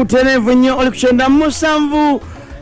Butereevu nnyo oli ku 97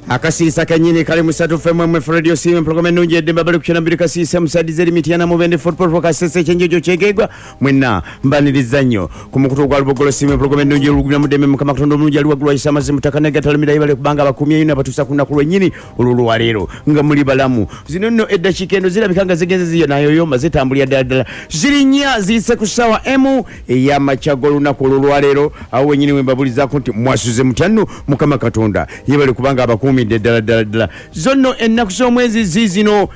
akasiisa kennyini kali musatu fm radio simu program ennungi eddembe bali ku 92 kasiisa musadize eri Mityana Mubende Fort Portal Kasese ekyenjojo kyegegwa mwenna mbaniriza nnyo ku mukutu gwa Lubogolo simu program ennungi olugumya muddembe Mukama Katonda omulungi ali waggulu ayisa amazzi mu ttaka negatalamira yebale kubanga abakumyeyo n'abatuusa ku lunaku lwennyini olw'olwaleero nga muli balamu. Zino nno eddakiika eno zirabika nga zigenze ziyonayoyoma zitambulira ddala ddala ziri nnya ziyise ku ssaawa emu ey'amakya g'olunaku olw'olwaleero awo wennyini we mbabulizaako nti mwasuze mutya nno. Mukama Katonda yebale kubanga abakuumidde ddala ddala ddala. Zonno ennaku z'omwezi ziizino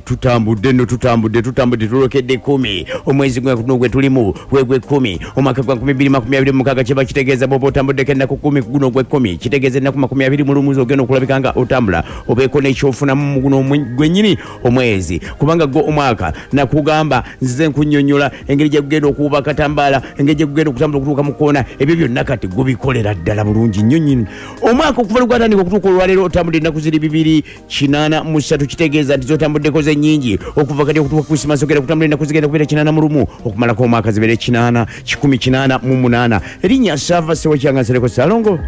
tutambudde nno tutambudde tutambudde tulokedde 10 omwezi guno gwe tulimu gwegwe 10 omwaka gwa 2026 kiba kitegeeza bw'oba otambuddeko ennaku 10 guno gwe 10 kitegeeza ennaku 21 ogenda okulabika nga otambula obeeko n'ekyofunamu mu guno gwennyini omwezi kubanga gwo omwaka nakugamba nzize nkunnyonnyola engeri gye gugenda okuwuba akatambaala engeri gye gugenda okutambula okutuuka mu kkoona ebyo byonna kati gubikolera ddala bulungi nnyo nnyini. Omwaka okuva lwe gwatandika okutuuka olwaleero otambudde ennaku ziri 283 kitegeeza nti zotambuddeko ze nnyingi okuva kati okutuuka ku Krisimasi ogenda kutambula ennaku zigenda kubeera 81 okumalako omwaka zibeere 8 188. Erinnya Saava Ssewakyanga Nsereko Ssalongo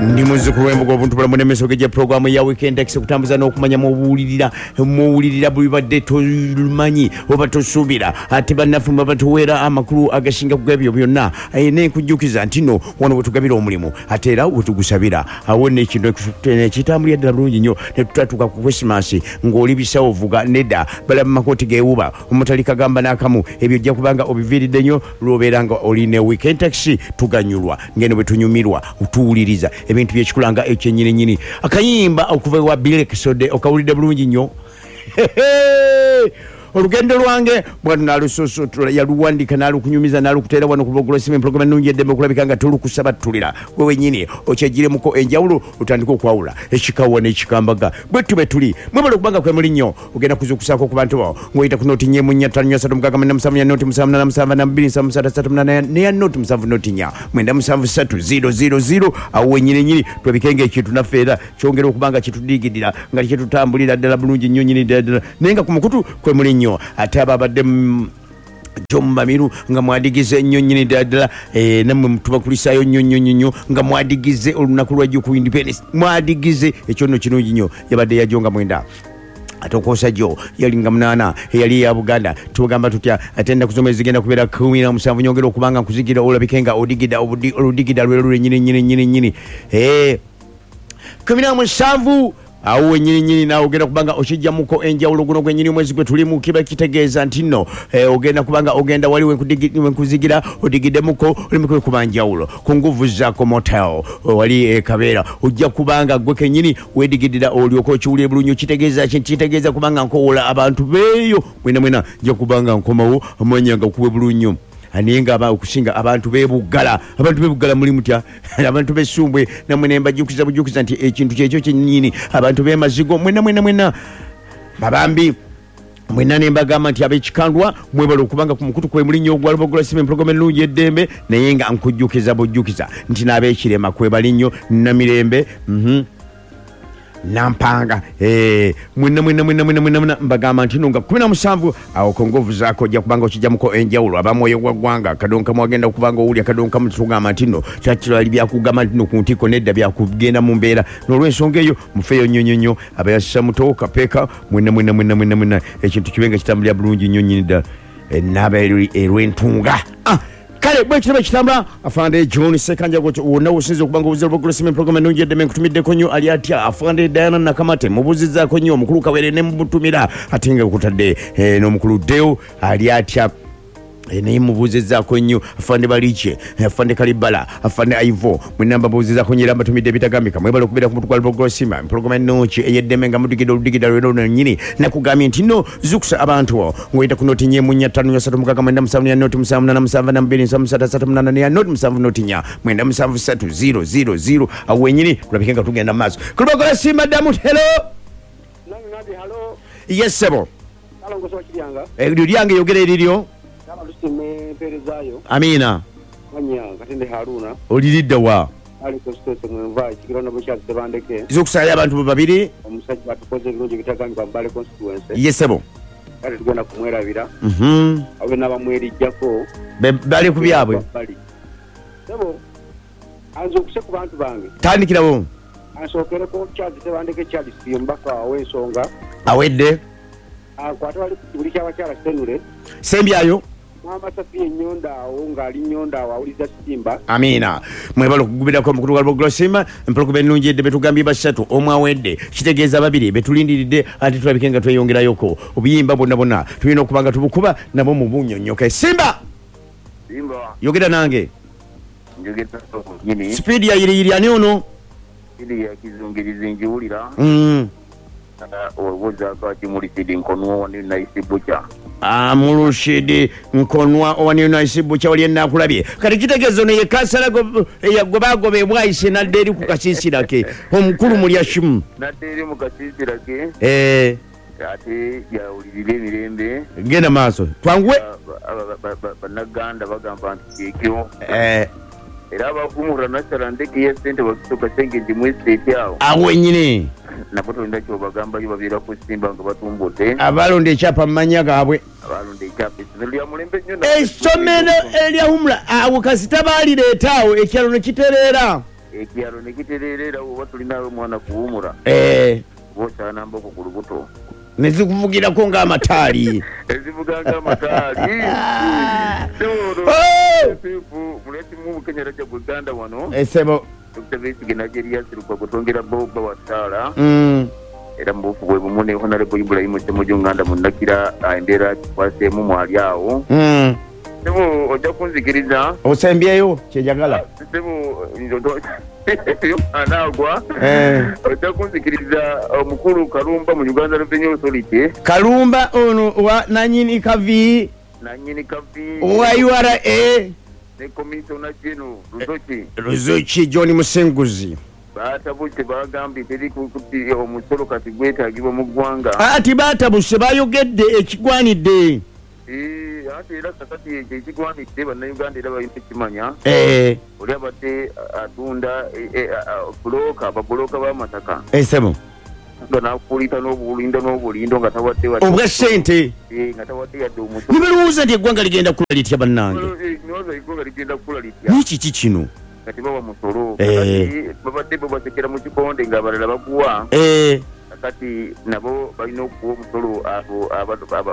ndi muzzukulu w'embuga obuntu bulamu n'emisogo gya pulogulaamu ya Weekend X okutambuza n'okumanya muwulirira muwulirira bwibadde tomanyi oba tosuubira ate bannaffe mwe batuweera amakulu agasinga ku ebyo byonna. Nenkujjukiza nti nno wano we tugabira omulimu ate era we tugusabira awo n'ekintu ekitambulira ddala bulungi nnyo ne tutatuuka ku Krisimasi ng'oli bisawo vuga nedda balaba makooti geewuba omutali kagamba n'akamu ebyo ojja kubanga obiviiridde nnyo lw'obeera nga oli ne Weekend Taxi tuganyulwa ngeno bwe tunyumirwa tuwuliriza ebintu by'ekikula nga ekyennyininyini. Akayimba okuva ewa Bilekisode okawulidde bulungi nnyo. Olugendo lwange bwatu nalususutula yaluwandika nalukunyumiza nalukuteera wano ku Lubogolo Simu empologoma ennungi eddembe okulabika nga tolukusaba ttulira gwe wennyini okyeggiremuko enjawulo otandike okwawula ekikawa n'ekikambaga bwe tube tuli mwebale okubanga kwe muli nnyo ogenda kuzuukusaako ku bantu bo ng'oyita ku nooti nnya emu nnya ttaano nnya ssatu mukaaga mwenda musanvu nnya nooti musanvu munaana musanvu ana bbiri nsanvu ssatu ssatu munaana neya nooti musanvu nooti nnya mwenda musanvu ssatu ziro ziro ziro awo wennyini nnyini twebike ng'ekintu naffe era kyongera okuba nga kitudigidira nga kyetutambulira ddala bulungi nnyo nnyini ddala ddala naye nga ku mukutu kwe muli nnyo ate ababadde John Mamiru nga mwadigize nnyo nnyini ddala ddala nammwe tubakulisaayo nnyo nnyo nnyo nnyo nga mwadigize olunaku lwa jjo ku Independence mwadigize ekyo nno kirungi nnyo yabadde yajjo nga 9 ate okwosa jjo yali nga 8 eyali eya Buganda tugamba tutya ate ennaku z'omwezi zigenda kubeera 17 nyongera okuba nga nkuzigira olabike nga odigida oludigida lwe lwe nnyini nnyini nnyini nnyini 17 awo wennyini nnyini naawe ogenda kubanga okijjamuko enjawulo guno gwennyini omwezi gwe tulimu kiba kitegeeza nti nno ogenda kubanga ogenda wali wenkuzigira odigiddemuko olimu kwekuba njawulo ku nguvu zaako motel wali Kabeera ojja kubanga gwe kennyini wedigidira olyoka okiwulire bulungi kitegeeza ki kitegeeza kubanga nkowoola abantu beeyo mwena mwena nja kubanga nkomawo amanya nga kuwe bulungi naye nga okusinga abantu b'ebuggala abantu b'ebuggala muli mutya abantu b'essumbwe nammwe ne mbajjukiza bujjukiza nti ekintu kyekyo kyennyini abantu b'emazigo mwena mwena mwena babambi mwenna ne mbagamba nti ab'ekikandwa mwebale okubanga ku mukutu kwe muli nnyo ogwa Lubogolo Simu empologoma ennungi eddembe naye nga nkujjukiza bujjukiza nti n'ab'ekirema kwebali nnyo Namirembe Nampanga mwenna mwenna mwenna mwenna mwenna mwenna mbagamba nti no nga 17 awo kongovu zaako ojja kubanga okijjamuko enjawulo abamwoyo gwa ggwanga kadonka mwagenda okubanga owulya kadonka mutugamba nti no kyakirali byakugamba nti no ku ntikko nedda byakugenda mu mbeera n'olw'ensonga eyo mufeeyo nnyo nnyo nnyo abayasisa muto kapeeka mwenna mwenna mwenna mwenna mwenna ekintu kibe nga kitambulira bulungi nnyo nnyini ddala naaba erw'entunga kale bwe kitaba kitambula afande John Ssekanja wonna wosinza okuba nga obuuza Lubogolo Simu empologoma ennungi eddeme nkutumiddeko nnyo ali atya afande Diana Nakamate mubuuzizzaako nnyo omukulu Kawere ne mubutumira ate nga kutadde n'omukulu Deo ali atya naye mubuuzizzaako nnyo afande Balikye afande Kalibala afande Aivo mwenna mbabuuzizzaako nnyo era mbatumidde ebitagambika mwebale okubeera ku mutu gwa Lubogolo Simu empologoma ennungi ey'eddeme nga mudigidde oludigida lwera luno nnyini nakugambye nti nno zukusa abantu ng'oyita ku nooti nnya emu nnya ttaano nnya ssatu mukaaga mwenda musanvu nnya nooti musanvu munaana musanvu ana bbiri nsanvu ssatu ssatu munaana nnya nooti musanvu nooti nnya mwenda musanvu ssatu ziro ziro ziro awo wennyini tulabike nga tugenda mu maaso ku Lubogolo Simu addamu hello. Yes ssebo. Eryo lyange yogera eriryo. Amiina. Oliridda wa? Zukusaayo abantu babiri. Ye ssebo. Bali ku byabwe. Anzuukuse ku bantu bange. Tandikirawo. Ansookereko Charles Tebandeke Charles omubaka ow'ensonga. Awedde. Ankwate wali ku kibuli ky'abakyala Senule. Sembyayo. Maama Safia Ennyondo awo ng'ali nnyondo awo awuliriza Simba. Amiina. Mwebale okugubirako omukutu gwa Lubogolo Simba. Empologoma ennungi edde betugambye basatu omu awedde kitegeeza babiri betulindiridde ate tulabike nga tweyongerayoko obuyimba bwonna bwonna tulina okuba nga tubukuba nabwo mu bunyonyoke. Simba! Simba. Yogera nange. Njogera nyini. Sipiidi ya yiriyiri ani ono? Sipiidi ya kizungirizi njiwulira. Owozaako ati Murushid Nkonwa owa New Nice Butcher. Ah, Murushid Nkonwa owa New Nice Butcher wali enaakulabye. Kati kitegeeza ono ye kansala gwe bagoba e Bwaise n'adda eri ku kasiisira ke omukulu Mulyashimu. N'adda eri mu kasiisira ke. Ate yawulirira emirembe. Genda maaso twanguwe. Bannaganda bagamba nti kyekyo. Era abakumura nasala ndeke ya sente bakitoka senge ndimwestate awo. Awo wenyini. Nabo tolina kyobagambayo babeera ku Simba nga batumbudde. Abalonda ekyapa mu mannya gaabwe. Abalonda ekyapa essomero lya mulembe nnyo. Essomero erya Humura awo kasita baalireeta awo ekyalo ne kitereera. Ekyalo ne kitereera era oba tulinawo omwana ku Humura. Oba osaana mboko ku lubuto. Ne zikuvugirako ng'amataali. Ezivuga ng'amataali. Muletimu Bukenya Rajab Uganda wano. Esebo. Dr. Besigye Nigeria Lukwago twongera Boba wa Ssaala. Era mu buufu bwe bumu ne Honorable Ibrahim Ssemujju Nganda munnakira embeera kikwaseemu mwali awo. Ssebo ojja kunzikiriza. Osembyeyo kye njagala. Ssebo anaagwa. Ojja kunzikiriza omukulu Kalumba mu Uganda Revenue Authority. Kalumba ono wa nanyini kavi. Nanyini kavi. Owa URA. Ne Commissioner General Ruzoki. Ruzoki John Musinguzi. Batabuse bagambye teri kuti omusolo kati gwetaagibwa mu ggwanga. Ati batabuse bayogedde ekigwanidde. Ate era kakati ekyo ekigwanidde bannayuganda era balina okukimanya. Oli abadde atunda bulooka, ababuloka b'amataka. Ssebo. Nga n'akuliita n'obulindo n'obulindo nga tawadde wadde obwa ssente. Nga tawadde yadde omusolo. Ne balowooza nti eggwanga ligenda kukula litya bannange. Ndowooza eggwanga ligenda kukula litya. Naye kiki kino? Kati bawa musolo. Kati babadde bo basekera mu kikonde ng'abalala baguwa. Kati nabo balina okuwa omusolo abo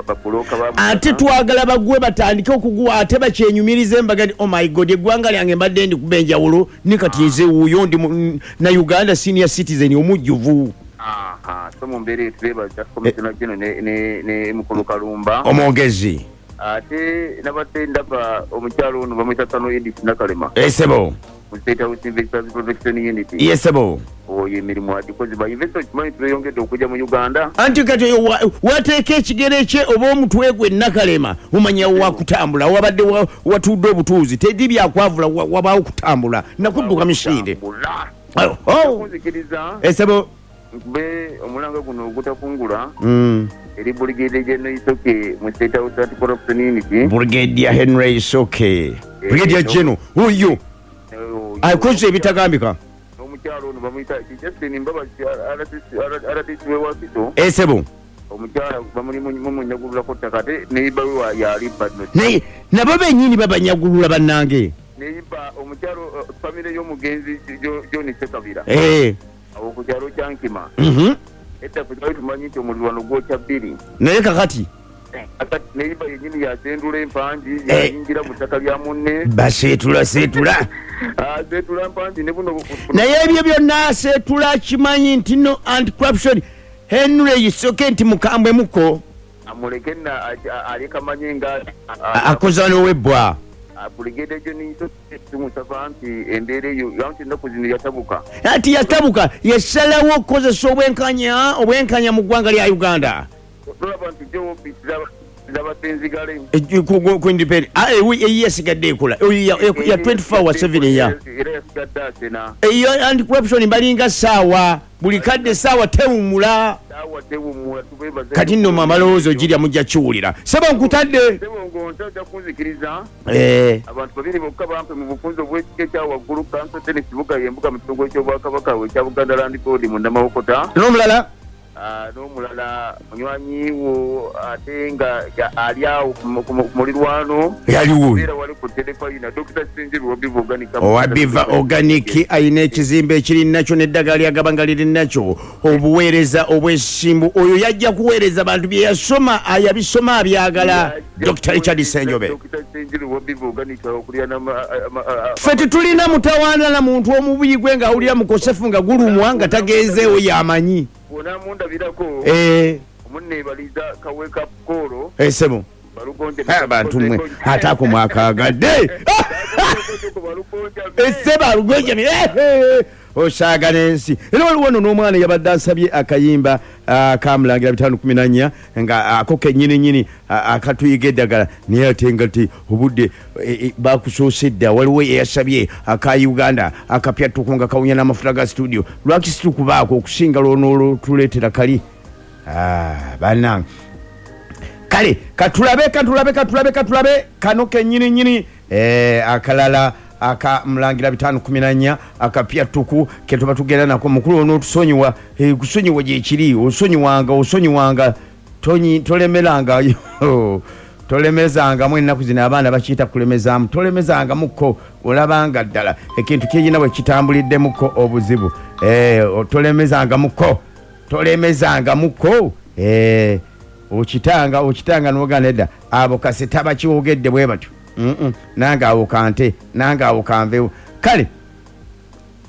babuloka ba. Ate twagala baguwe batandike okuguwa ate bakyenyumirize mbaga nti oh my god eggwanga lyange mbadde ndi kuba enjawulo ne kati nze wuuyo ndi na Uganda senior citizen omujjuvu. So mu mbeera eyo twebaza Commissioner General ne Mukulu Kalumba. Omwogezi. Ate nabadde ndaba omukyalo ono bamuyita Kano Edith Nakalema. Esebo. Mu State House Investors Protection Unit. Yesebo. Oyo emirimu agikoze ba investor kimanyi tweyongedde okujja mu Uganda. Anti kati wateeka ekigere kye oba omutwe gwe Nakalema omanya wakutambula wabadde watudde obutuuzi teri byakwavula wabaawo kutambula nakudduka misinde. Kunzikiriza. Esebo. Nkube omulanga guno ogutakungula. Eri Brigadier General Isoke mu State House Anti-Corruption Unit. Brigadier Henry Isoke. Brigadier General oyo. Akoze ebitagambika. Omukyalo ono bamuyita Justin Mbabazi RDC we Wakiso. Esebo. Omukyala bamuli munyagululako ttaka ate neighbor we yali bano. Naye nabo bennyini babanyagulula bannange. Neighbor omukyalo family y'omugenzi John Ssekabira. Awo ku kyalo kya Nkima. Edda ffe twali tumanyi nti omulirwano gwokya bbiri. Naye kakati neighbor yennyini yasendula empangi yayingira mu ttaka lya munne. Baseetula seetula. Aseetula mpangi ne buno. Naye ebyo byonna aseetula kimanyi nti no anti-corruption Henry Isoke nti mukambwe muko. Amuleke nna aleka manye nga akoza n'owebbwa. Brigadier General Isoke tumusaba nti embeera eyo anti ennaku zino yatabuka. Anti yatabuka yasalawo okukozesa obwenkanya mu ggwanga lya Uganda. Tulaba nti jo ofiisi zabadde nzigale. Ku independent. Yasigadde ekola. Ya 24/7 eya. Era yasigadde asena. Eyo anti-corruption balinga ssaawa buli kadde ssaawa tewummula. Ssaawa tewummula tubeebaza. Kati nno amalowoozo girya mujja kiwulira. Ssebo nkutadde. Ssebo ng'onta ojja kunzikiriza. Abantu babiri bokka bampe mu bufunze obw'ekika ekya waggulu Kanso Dennis Kibuga y'embuga mu kitundu eky'Obwakabaka ekya Buganda Land Board mu Namawokota. N'omulala? N'omulala munywanyi wo ate nga ali agho ku mulirwano. Yaliwo oyo. Era wali ku Terefayina, Dokita Ssenjobe owa Biva Organic. Owa Biva Organic alina ekizimbe ekiri nakyo n'eddagala ly'agaba nga liri nakyo. Obuweereza obwesimbu. Oyo yajja kuweereza bantu bye yasoma yabisoma abyagala. Dokita Richard Ssenjobe. Dokita Ssenjobe owa Biva Organic okulirana. Ffe titulina mutawaana na muntu omubi gwe nga awulira mukosefu nga gulumwa nga tagenzeewo y'amanyi. Bw'onaamundabirako, omuneebaliza ka wake up call. Eh sebo. Bantu mwe ate ako mwakaagadde. Ese balugonjamye. Osaaga n'ensi. Era waliwo wano n'omwana eyabadde ansabye akayimba akamulangira 514 nga ako kennyini nnyini akatuyiga eddagala naye ate nga ti obudde bakusoose dda. Waliwo eyasabye aka Uganda akapya ttuku nga kawunya n'amafuta ga situdiyo. Lwaki situkubaako okusinga lw'onootuleetera kali? Bannange. Kale katulabe katulabe katulabe katulabe kano kennyini nnyini akalala aka Mulangira 514 akapya ttuku ke tuba tugenda nako. Mukulu onootusonyiwa, kusonyiwa gyekiri, osonyiwanga osonyiwanga, tolemeranga tolemezangamu. Ennaku zino abaana bakiyita kulemezaamu, tolemezangamukko olabanga ddala ekintu kirina bwe kitambuliddemukko obuzibu. Tolemezangamukko, tolemezangamukko, okitanga okitanga n'oganda edda abo kasita bakiwogedde bwe batyo. Nange awo kante, nange awo kanveewo. Kale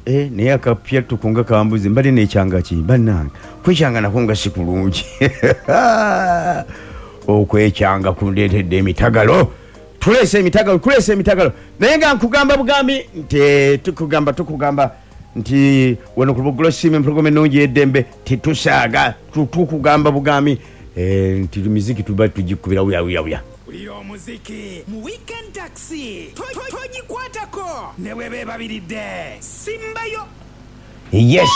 naye akapya ttuku nga kambuze, mbadde nekyanga ki bannange? Kwekyanga nako nga si kulungi. Okwekyanga kundeetedde emitagalo. Tuleese emitagalo, tuleese emitagalo. Naye nga nkugamba bugambi nti tukugamba tukugamba nti wano ku Lubuggulo Siima empologoma ennungi ey'eddembe tetusaaga. Tukugamba bugambi nti miziki tuba tugikubira wuya wuya wuya. Wulira omuziki mu Weekend Taxi. Togikwatako ne bweba ebabiridde. Simbayo. Yes.